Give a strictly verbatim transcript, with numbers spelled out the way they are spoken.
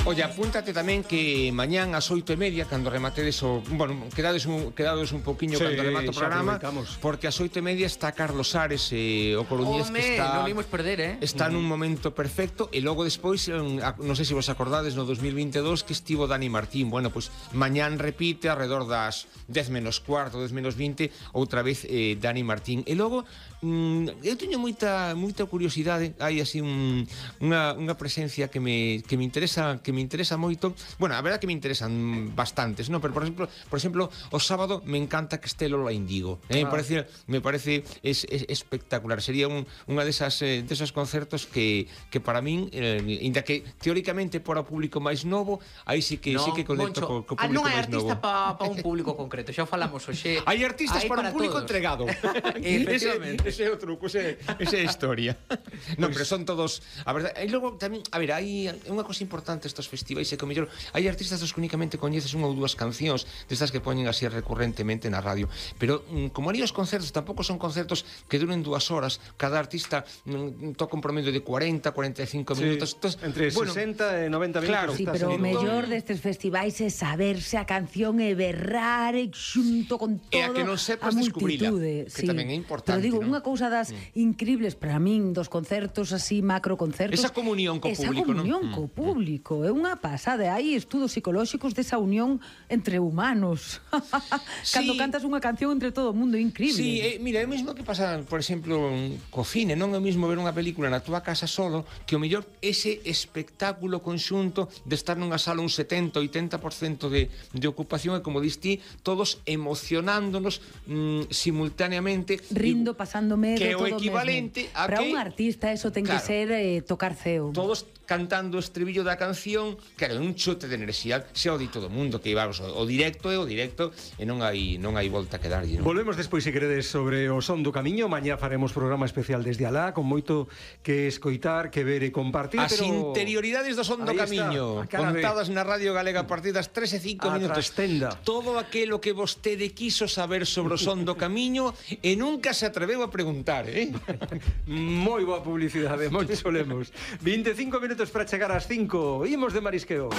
Oye, apúntate tamén que mañán ás oito e media, cando rematedes o... Bueno, quedades un, quedades un pouquiño sí, cando remate o programa, porque ás oito e media está Carlos Ares, eh, o coruñés que está... non imos perder, eh? Está nun momento perfecto, e logo despois, non sei se vos acordades, no dos mil vinte e dous que estivo Dani Martín. Bueno, pois pues, mañán repite alrededor das dez menos cuarto, dez menos vinte, outra vez eh, Dani Martín. E logo, mm, eu teño moita moita curiosidade, hai así un, unha, unha presencia que me, que me interesa que me interesa moito. Bueno, a verdade que me interesan bastantes, ¿no? Pero por exemplo, por exemplo, o sábado me encanta que este Lola Indigo. Eh, ah. Me parece me parece es, es espectacular. Sería un unha desas eh, desos concertos que que para min, eh, inda que teóricamente para o público máis novo, aí sí que no, sí que conecto co, co público máis novo. Ah, non hai artista para pa un público concreto, xa falamos hoxe. Hai artistas para, para un público todos. Entregado. Efectivamente. Ese, ese é o truco, ese, ese é a historia. Non, pues, pero son todos, a verdade, e logo tamén, a ver, hai unha cosa importante estos festivais é que o mellor hai artistas dos que únicamente coñeces unha ou dúas cancións destas que poñen así recurrentemente na radio, pero mm, como ali os concertos tampouco son concertos que duren dúas horas, cada artista mm, toca un promedio de cuarenta, cuarenta e cinco sí, minutos. Entonces, entre bueno, sesenta e noventa minutos. Claro, sí, pero o mellor destes festivais é saberse a canción e berrar e xunto con todo e a que non sepas descubrila, que sí. tamén é importante. Pero digo, ¿no? unha cousa das mm. incribles para min dos concertos así, macro concertos, esa comunión co esa público, comunión ¿no? co público, é unha pasada. Hai estudos psicolóxicos desa unión entre humanos. Sí. Cando cantas unha canción entre todo o mundo, é increíble. Sí, eh, mira, é o mesmo que pasa, por exemplo, co cine, non é o mesmo ver unha película na túa casa solo, que o mellor ese espectáculo conxunto de estar nunha sala un setenta, oitenta por cento de, de ocupación, e como dis ti, todos emocionándonos mm, simultaneamente, rindo, pasando medo, que é o todo equivalente mesmo. a para que un artista eso ten claro, que ser eh, tocar ceo. Todos cantando o estribillo da canción, claro, un chute de enerxía, se o di todo o mundo, que vamos, o directo é o directo e non hai non hai volta que darlle, non? Volvemos despois, se queredes, sobre o Son do Camiño. Mañá faremos programa especial desde alá, con moito que escoitar, que ver e compartir. As pero... interioridades do Son do Camiño, contadas na Radio Galega a partir das tres e cinco minutos. Trastenda. Todo aquilo que vostede quiso saber sobre o Son do Camiño e nunca se atreveu a preguntar, eh? Moi boa publicidade, moi solemos. vinte e cinco minutos para chegar ás cinco. Imos de marisqueo.